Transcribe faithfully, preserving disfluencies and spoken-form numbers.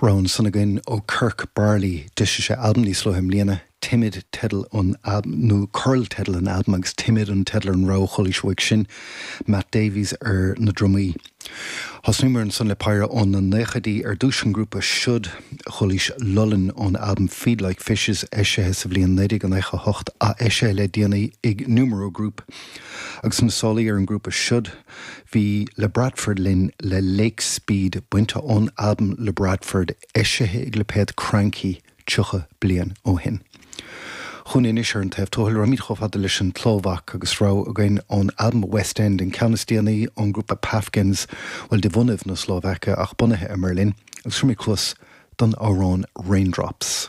Rogha ansan againn ó Kirk Barley d'eisigh sé albam níos luaithe i mbliana, Timid teideal an nó Coral teideal an albaim agus Timid an teideal ar an rogha a chualaís uaidh sin, Matt Davies ar na drumaí. Thosnaíomar ansan le péire ó na naochaidí ar dtús an grúpa Should chualaís Lullin ón albam Feed Like Fishes eisithe sa bhliain naoi déag nócha a hocht ath-eisithe le déanaí ag Numero Group agus na sálaí ar an ngrúpa Should Bhí Labradford linn le Lake Speed bainte ón albam Labradford eisithe ag lipéad Kranky tríocha bliain ó shin. Chugainn anois ar an taobh tuathail, rachaimid chomh fada leis an tSlóvaic agus rogha againn ón albam West End, an ceann is déanaí ón ngrúpa Pafgens, bhuel de bhunaibh na Slóvaice ach bunaithe i mBerlin, agus tabharfaimid cluas don amhrán Raindrops.